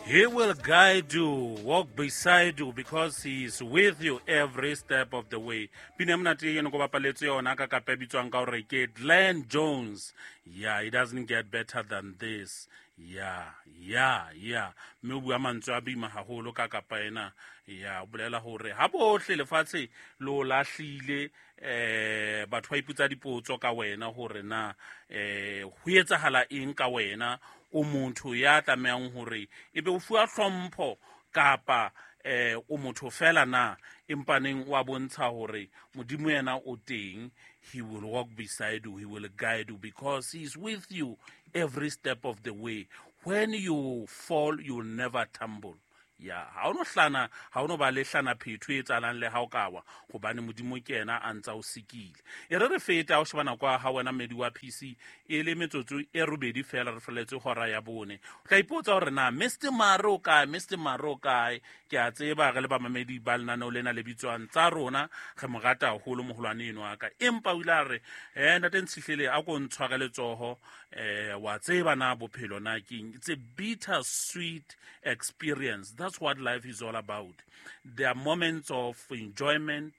He will guide you, walk beside you because he is with you every step of the way. Pina monate eno ko bapaletse yona ka kapa e bitswang ka hore ke Glenn Jones. Yeah, it doesn't get better than this. Yeah, yeah, yeah. Mme o bua mantswe a boima haholo ka kapa ena. Ya, o bolela hore ha bohle lefatshe lo lahlile batho ba ipotsa dipotso ka wena hore na ho etsahala eng ka wena. O motho ya tlamehang hore ebe o fuwa hlompho kapa o motho fela na, empaneng wa bontsha hore Modimo yena o teng. He will walk beside you, he will guide you because he is with you every step of the way. When you fall, you will never tumble. Ya, ha o no hlana, ha o no ba le hlana phetho e etsahalang le ha o ka wa, hobane Modimo ke yena a ntsa o sikile. E re re feta o sheba nako ya ha wena mmedi wa PC e le metsotso e robedi fela re feletse hora ya bone. O tla ipotsa hore na Mr Mare o kae, Mr Mare o kae. Ke a tseba re le bamamedi ba lenaneo lena le bitswang tsa rona, re mo rata haholo moholwane eno wa ka. Empa o ile a re, ntate Ntshihlele a ko ntshware letsoho, wa tseba na bophelo na keng. It's a bitter sweet experience. That's what life is all about. There are moments of enjoyment,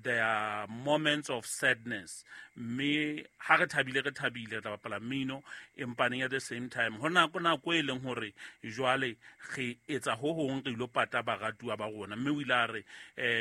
there are moments of sadness. Mme ha re thabile, re thabile, re tla bapala mmino, empaneng at the same time ho nako nako e leng hore jwale re etsa ho hong, re ilo pata baratuwa ba rona. Mme o ile a re,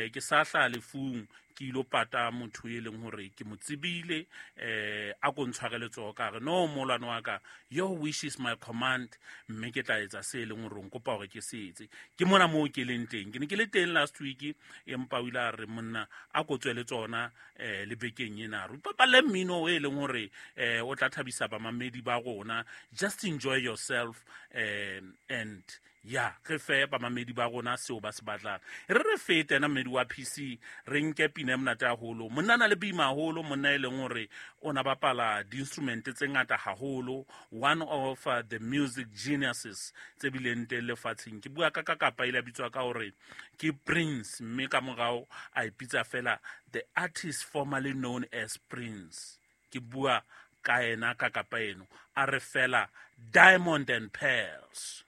ke sa hlaha lefung, ke ilo pata motho e leng hore ke mo tsebile, a ko ntshware letsoho. Ka re no, molwane wa ka, your wish is my command, mme ke tla etsa se e leng hore o nkopa hore ke se etse. Ke mona moo ke leng teng, ke ne ke le teng last week, empa o ile a re monna a ko tswe le tsona, le bekeng ena re ipapalle mmino e leng hore, o tla thabisa bamamedi ba rona. Just enjoy yourself, and ya re fe bamamedi ba rona seo ba se batlang. Re re fete ena mmedi wa PC, re nke pina e monate haholo. Monna na le boima haholo, monna e leng hore o na bapala di-instrument tse ngata haholo, one of the music geniuses tse bileng teng lefatsheng. Ke bua ka kapa ile a bitswa ka hore ke Prince, mme ka morao a ipitsa fela the artist formerly known as Prince. Ke bua ka ena ka kapa eno, a re fela Diamond and Pearls.